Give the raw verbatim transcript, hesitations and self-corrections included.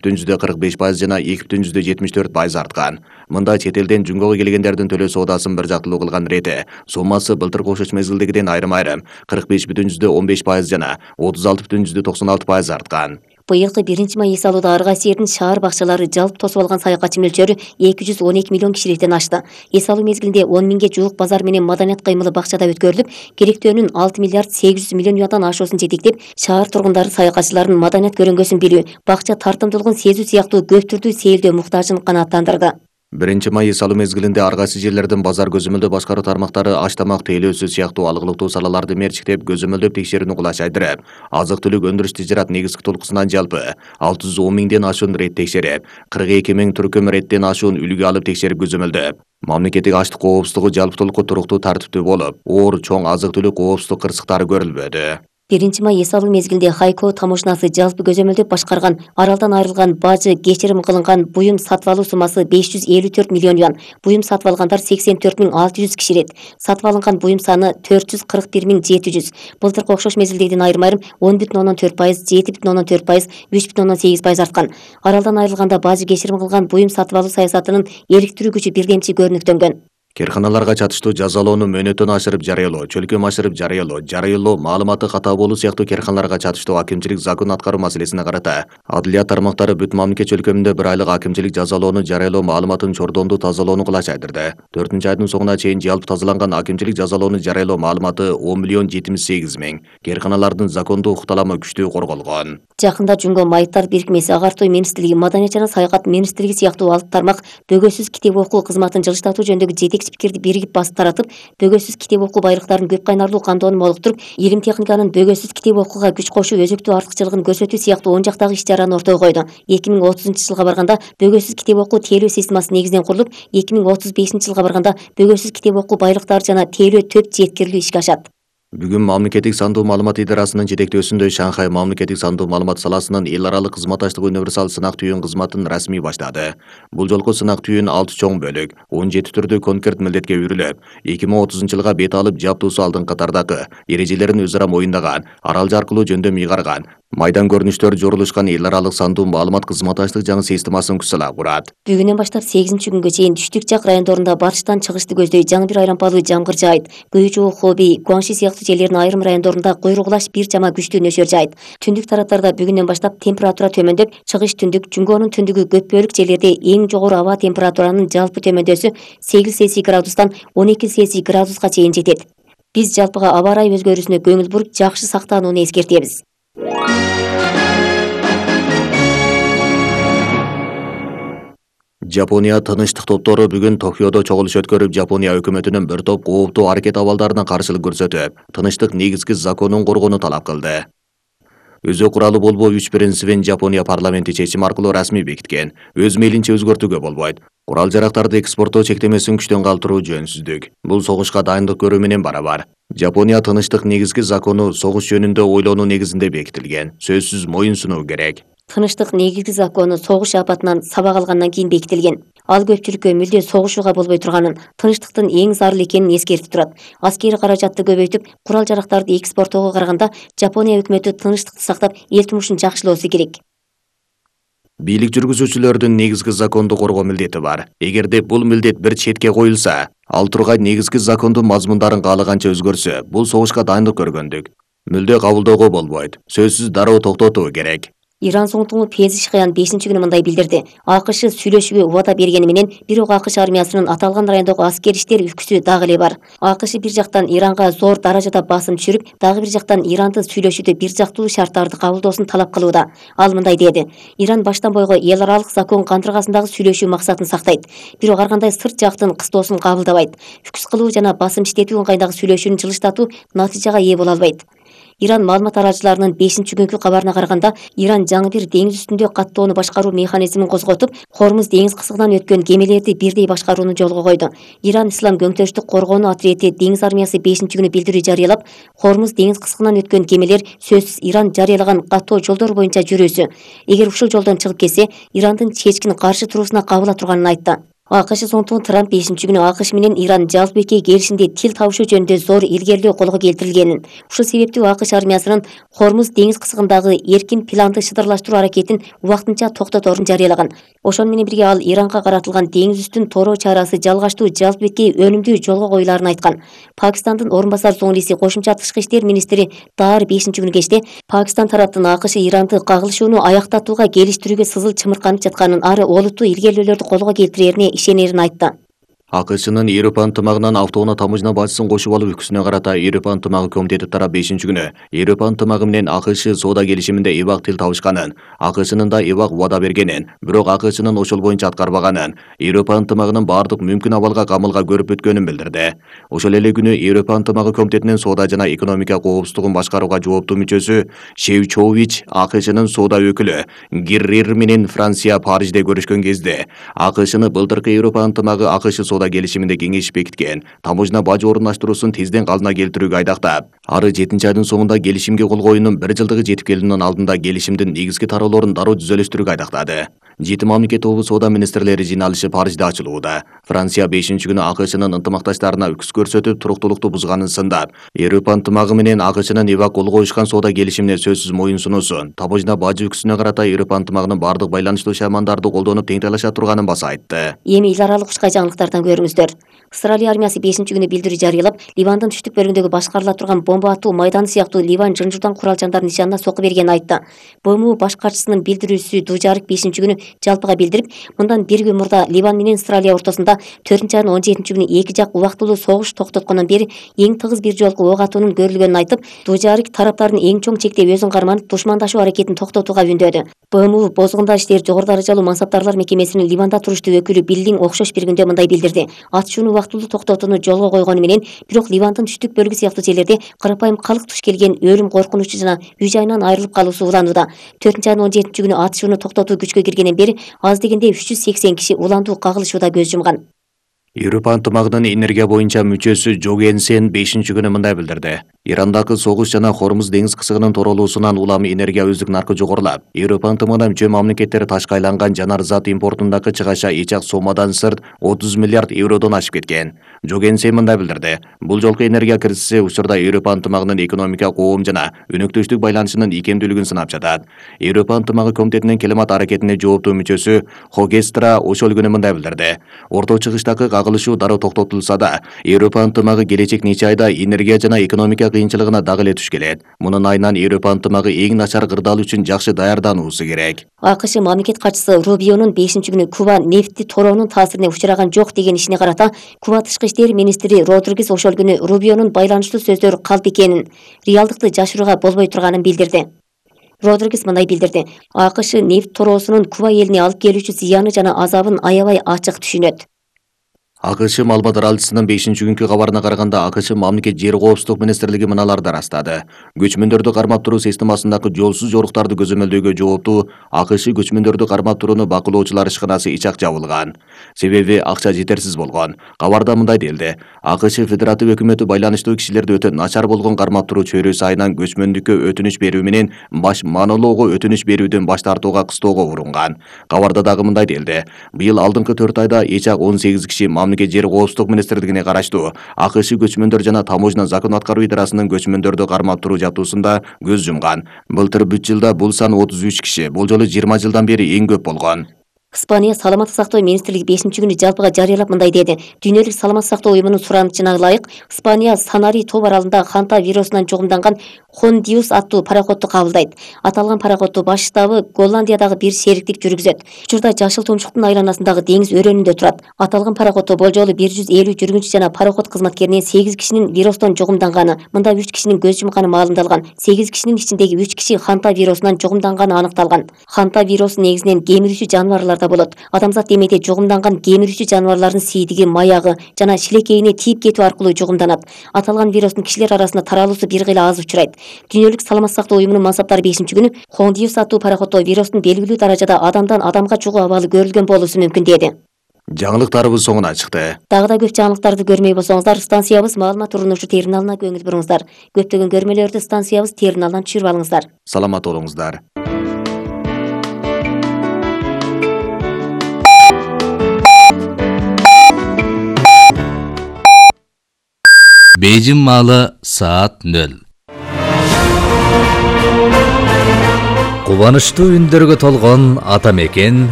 бүтүн жүздө кырк беш пайыз жана эки бүтүн жүздө жетимиш төрт пайыз арткан. Мында чет элден жумгого келгендердин төлөө соодасын бир жактылуу кылган рети суммасы былтыркы окшош мезгилдегиден айрым-айрым кырк беш бүтүн жүздө он беш пайыз жана отуз алты бүтүн жүздө токсон алты пайыз арткан. Быйылкы биринчи май эс алууда ар кайсы жердин шаар бакчалары жалпы тосуп алган саякатчы мөлчөрү эки жүз он эки миллион кишиликтен ашты. Эс алуу мезгилинде он миңге жуук базар менен маданият кыймылы бакчада өткөрүлүп, керектөөнүн алты миллиард сегиз жүз миллион юандан ашуусун жетектеп, шаар тургундары саякатчылардын маданият көрөнгөсүн билүү, бакча тартымдуулугун сезүү сыяктуу көп түрдүү сейилдөө муктажын канааттандырды. Биринчи май эс алуу мезгилинде ар кайсы жерлердин базар көзөмөлдөө башкаруу тармактары аш тамак тейлөөсү сыяктуу алгылыктуу салаларды мерчиктеп көзөмөлдөп текшерүүнү кулачайдырып, азык-түлүк өндүрүш тижарат негизги толкусунан жалпы алты жүз он миңден ашуун рет текшерип, кырк эки миң түркүм реттен ашуун үлгү алып текшерип көзөмөлдөп, мамлекеттик аштык коопсуздугу жалпы толуку туруктуу тартиптүү болуп, оор чоң азык-түлүк коопсуздук кырсыктары көрүлбөдү. Биринчи май эс алуу мезгилинде Хайко таможнасы жалпы көзөмөлдөп башкарган аралдан айрылган бажы кечирим кылынган буюм сатып алуу суммасы беш жүз элүү төрт миллион юан. Буюм сатып алгандар сексен төрт миң алты жүз киширет. Сатып алынган буюм саны төрт жүз кырк бир миң жети жүз. Былтыркы окшош мезгилдегиден айрым-айрым он бүтүн ондон төрт пайыз, жети бүтүн ондон төрт пайыз, үч бүтүн ондон сегиз пайыз арткан. Аралдан айрылганда бажы кечирим кылган буюм сатып алуу саясатынын иликтирүү күчү бирдемчи көрүнүктөнгөн. Керканаларга чатыштуу жазалоону мөөнөттөн ашырып жарыялоо, чөлкөм ашырып жарыялоо, жарыялоо, маалыматы катаа болуу сыяктуу керканаларга чатыштуу акимчилик закон аткаруу маселесине карата адилия тармактары бүт мамлекет чөлкөмүндө бир айлык акимчилик жазалоону жарыялоо маалыматын чордондуу тазалоону кылачайдырды. төртүнчү айдын соңуна чейин жалпы тазаланган акимчилик жазалоону жарыялоо маалыматы он миллион жетимиш сегиз миң. Керканалардын закондуу укукталамы күчтүү корголгон. Жакында Жумго майыптар бирикмеси, Агартуу министрлиги, Маданият жана саякат министрлиги сыяктуу алты тармак бөгөсүз китеп окуу кызматын жылыштатуу жөнүндөгү жетекчи пикирди биригип басып таратып, бөгөсүз китеп окуу байлыктарын көп кайнарлуу камтоону молуктуруп, илим техниканын бөгөсүз китеп окууга күч кошуу өзөктүү артыкчылыгын көрсөтүү сыяктуу он жактагы иш-чараны ортого койду. эки миң отузунчу жылга барганда бөгөсүз китеп окуу тейлөө системасы негизинен курулуп, эки миң отуз бешинчи жылга барганда бөгөсүз китеп окуу байлыктары жана тейлөө төп жеткирилүү ишке ашат. Бүгүн мамлекеттик сандуу маалымат идарасынын жетектөөсүндө Шанхай мамлекеттик сандуу маалымат саласынын эл аралык кызматташтык универсал сынак түйүн кызматын расмий баштады. Бул жолку сынак түйүн алты чоң бөлүк, он жети түрдүү конкрет милдетке үйрүлүп, эки миң отузунчу жылга бет алып жаптуусу алдыңкы катардагы эрежелерин өзара моюндаган, аралжы аркылуу жөндөм ыйгарган, майдан көрүнүштөр жорулушкан эл аралык сандуу маалымат кызматташтык жаңы системасын күчсала курат. Бүгүнөн баштап сегизинчи күнгө чейин түштүк жак райондорунда батыштан чыгышты көздөй жаңы бир айрампалуу жамгыр жаайт. Күйүүчү Хоби, Гуанши сыяктуу жерлердин айрым райондорунда куйругулаш бир жама күчтүү нөсөр жаайт. Түндүк тараптарда бүгүнөн баштап температура төмөндөп, чыгыш түндүк, Жумгонун түндүгү көп бөлүк жерлерде эң жогору аба температуранын жалпы төмөндөсү сегиз Цельсий градустан он эки Цельсий градуска чейин жетет. Биз жалпыга аба ырайы өзгөрүүсүнө көңүл буруп, жакшы сактанууну эскертебиз. Жапония тынычтык топтору бүгүн Токиодо чогулуш өткөрүп, Жапония өкмөтүнүн бир топ кооптуу аракет абалдарына каршылык көрсөтүп, тынычтык негизги законун коргоону талап кылды. Өзү куралы болбоо үч принцибин Жапония парламенти чечим аркылуу расмий бекиткен. Өз мейлинче өзгөртүүгө болбойт. Курал жарактарды экспорттоо чектемесин күчтөн калтыруу жөнсүздүк. Бул согушка дайындык көрүү менен барабар. Жапония тынычтык негизги закону согуш жөнүндө ойлонуу негизинде бекитилген. Сөзсүз моюн сунуу керек. Тынычтык негизги закону согуш апатынан сабак алгандан кийин бекитилген. Ал көпчүлүккө мүлдө согушууга болбой турганын, тынчтыктын эң зарыл экенин эскертип турат. Аскери каражатты көбөйтүп, курал жарактарды экспорттоого караганда Жапония өкмөтү тынчтыкты сактап, эл турмушун жакшылоосу керек. Бийлик жүргүзүүчүлөрдүн негизги законду коргоо милдети бар. Эгерде бул милдет бир четке коюлса, ал тургай негизги закондун мазмундарын каалаганча өзгөрсө, бул согушка дайындык көргөндүк. Мүлдө кабылдоого болбойт. Сөзсүз дароо токтотуу керек. Иран соңтугу Пезишкаян бешинчи күнү мындай билдирди. АКШ сүйлөшүүгө убада бергени менен, бирок АКШ армиясынын аталган райондогу аскер иштер үлгүсү дагы эле бар. АКШ бир жактан Иранга зор даражада басым түшүрүп, дагы бир жактан Иранды сүйлөшүүдө бир жактуу шарттарды кабылдоосун талап кылууда. Ал мындай деди: Иран баштан бойго эл аралык закон кантыргасындагы сүйлөшүү максатын сактайт, бирок ар кандай сырт жактын кыстоосун кабылдабайт. Үкүс кылуу жана басым иштетүү ыңгайдагы сүйлөшүүнү жылыштатуу натыйжага ээ боло албайт. Иран маалымат таратчыларынын бешинчи күнгү кабарына караганда, Иран жаңы бир деңиз үстүндө каттоону башкаруу механизмин козготуп, Хормуз деңиз кысыгынан өткөн кемелерди бирдей башкарууну жолго койду. Иран Ислам көңтөрүштүк коргоонуу ответи деңиз армиясы бешинчи күнү билдирүү жарыялап, Хормуз деңиз кысыгынан өткөн кемелер сөзсүз Иран жарыялаган каттоо жолдор боюнча жүрүүсү. Эгер ушул жолдон чыгып кетсе, Ирандын чечкин каршы туруусуна кабыла турганын айтты. АКШ соңтугун Трамп бешинчи күнү АКШ менен Иран жалпы бекей келишимде тил табышуу жөнүндө зор илгерилөө колго келтирилгенин, ушул себептүү АКШ армиясынын Хормуз деңиз кысыгындагы эркин планды шыдырлаштыруу аракетин убактынча токтоторун жарыялаган. Ошону менен бирге ал Иранга каратылган деңиз үстүн тороо чарасы жалгаштуу жалпы бекей өнүмдүү жолго коюлаарын айткан. Пакистандын орун басар соңлиси кошумча тышкы иштер министри Даар бешинчи күнү кечте Пакистан тараптын АКШ Иранды кагылышууну аяктатууга келиштирүүгө сызыл чымырканып жатканын, ары олуттуу илгерилөөлөрдү колго келтирерине ишенерин айтты. АКШнын Европа ынтымагынан автоунаа тамыжна бажысын кошуп алуу үкүсүнө карата Европа ынтымагы комитети тарап бешинчи күнү Европа ынтымагы менен АКШ соода келишиминде ибак тил табышканын, АКШнын да ибак убада бергенин, бирок АКШнын ошол боюнча аткарбаганын, Европа ынтымагынын баардык мүмкүн абалга камылга көрүп өткөнүн билдирди. Ошол эле күнү Европа ынтымагы комитетинин соода жана экономика коопсуздугун башкарууга жооптуу мүчөсү Шевчович АКШнын соода өкүлү Гиррир менен Франция Парижде көрүшкөн кезде АКШны былтыркы Европа ынтымагы АКШ соода келишиминде кеңешип бекиткен таможня бажы орундаштыруусун тизден калдына келтирүүгө айдактап, ары жетинчи айдын соңунда келишимге кол коюунун бир жылдыгы жетип келүүнүн алдында келишимдин негизги тараалоорун дароо түзөлүштүрүүгө айдактады. Жети мамлекет тобу соода министрлери жыйналышы Парижде ачылууда. Франция бешинчи күнү АКШнын ынтымакташтарына үкүс көрсөтүп, туруктуулукту бузганын сындап, Европа ынтымагы менен АКШнын ибак кол коюшкан соода келишимине сөзсүз моюн сунуусун, таможня бажы үкүсүнө карата Европа ынтымагынын баардык байланыштуу шаймандарды колдонуп теңтайлаша турганын баса айтты. Эми эл аралык кучкай жаңылыктардан көрүңүздөр. Ысрайыл армиясы бешинчи күнү билдирүү жарыялап, Ливандын түштүк бөлүгүндөгү башкарыла турган бомба атуу майданы сыяктуу Ливан жынжырдан курал-жандардын нишанына сокку бергенин айтты. БМУ баш катчысынын билдирүүсү Дужарик бешинчи күнү жалпыга билдирип, мындан бир күн мурда Ливан менен Ысрайыл ортосунда төртүнчү айдын он жетинчи күнү эки жак убактылуу согуш токтоткондон бери эң тыгыз бир жолку ок атуунун көрүлгөнүн айтып, Дужарик тараптардын эң чоң чекте өзүн карманып, душмандашуу аракетин токтотууга үндөдү. БМУ бозгундар иштери жогору даражалуу мансаптарлар мекемесинин Ливанда туруштуу өкүлү Биллиң окшош бир күндө мындай билдирди. Атышууну убактылуу токтотууну жолго койгону менен, бирок Ливандын түштүк бөлүгү сыяктуу жерлерде карапайым калк туш келген өлүм коркунучу жана үй жайынан айрылып калуусу уланууда. төртүнчү айдын он жетинчи күнү атышууну токтотуу күчкө киргенден бери аз дегенде үч жүз сексен киши уландуу кагылышууда көз жумган. Европа ынтымагынын энергия боюнча мүчөсү Жогенсен бешинчи күнү мындай билдирди. Ирандагы согуш жана Хормуз деңиз кысыгынын торолуусунан улам энергия өздүк наркы жогорулап, Европа ынтымагына мүчө мамлекеттер ташка айланган жанар зат импортундагы чыгаша эч ак сомадан сырт отуз миллиард евродон ашып кеткен. Жогенсен мындай билдирди. Бул жолку энергия кризиси учурда Европа ынтымагынын экономика, коом жана өнөктөштүк байланышынын икемдүүлүгүн сынап жатат. Европа ынтымагы комитетинин климат аракетине жооптуу мүчөсү Хогестра ошол күнү мындай билдирди. Орто чыгыштагы кагылышуу дароо токтотулса да, Европа ынтымагы келечек нече айда энергия жана экономика кыйынчылыгына дагы эле туш келет. Мунун айынан Европа ынтымагы эң начар кырдаал үчүн жакшы даярдануусу керек. АКШ мамлекет катчысы Рубионун бешинчи күнү Куба нефти тороонун таасирине учураган жок деген ишине карата Куба тышкы иштер министри Родригес ошол күнү Рубионун байланыштуу сөздөр калп экенин, реалдыкты жашырууга болбой турганын билдирди. Родригес мындай билдирди. АКШ нефт тороосунун Куба элине алып келүүчү зыяны жана азабын аябай ачык түшүнөт. АКШ маалымат аралчысынын бешинчи күнкү кабарына караганда, АКШ мамлекет жер коопсуздук министрлиги мыналарды ырастады. Көчмөндөрдү кармап туруу системасындагы жолсуз жоруктарды көзөмөлдөөгө жооптуу АКШ көчмөндөрдү кармап турууну бакылоочулар ишканасы ичак жабылган. Себеби акча жетерсиз болгон. Кабарда мындай делди. АКШ федератив өкмөтү байланыштуу кишилерди өтө начар болгон кармап туруу чөйрөсү айынан көчмөндүккө өтүнүч берүү менен баш монологго өтүнүч берүүдөн баш тартууга кыстоого урунган. Кабарда дагы мындай делди. Быйыл алдыңкы төрт айда эч ак он сегиз киши мамлекет жер коопсуздук министрлигине караштуу АКШ көчмөндөр жана таможня закон аткаруу идарасынын көчмөндөрдү кармап туруу жабдуусунда көз жумган. Былтыр бүт жылда бул сан отуз үч киши, бул жолу жыйырма жылдан бери эң көп болгон. Испания саламаттык сактоо министрлиги бешинчи күнү жалпыга жарыялап мындай деди. Дүйнөлүк саламаттык сактоо уюмунун суранычына ылайык, Испания Санари тоо аралында ханта вирусунан жугумданган Хондиус аттуу пароходду кабылдайт. Аталган пароходду баш штабы Голландиядагы бир шериктик жүргүзөт. Учурда Жашыл тумчуктун айланасындагы деңиз өрөөнүндө турат. Аталган пароходдо болжолу бир жүз элүү жүргүнчү жана пароход кызматкеринен сегиз кишинин вирустан жугумданганы, мында үч кишинин көз жумканы маалымдалган. сегиз кишинин ичиндеги үч киши ханта вирусунан жугумданганы аныкталган. Ханта вирусу негизинен кемирүүчү жаныбарларда болот. Адамзат демейде жугумданган кемирүүчү жаныбарлардын сийдиги, маягы жана шилекейине тийип кетүү аркылуу жугумданат. Аталган вирустун кишилер арасында таралуусу бир кыйла аз учурайт. Дүйнөлүк саламаттык сактоо уюмунун мансаптары бешинчи күнү Хондиус аттуу пароходдо вирустун белгилүү даражада адамдан адамга жугуу абалы көрүлгөн болуусу мүмкүн деди. Жаңылыктарыбыз соңуна чыкты. Дагы да көп жаңылыктарды көрмөй болсоңуздар, станциябыз маалымат урунушу терминалына көңүл буруңуздар. Көптөгөн көрмөлөрдү станциябыз терминалынан түшүрүп алыңыздар. Саламат болуңуздар. Бейжин маалы саат нөл. Кубанычтуу үндөргө толгон ата мекен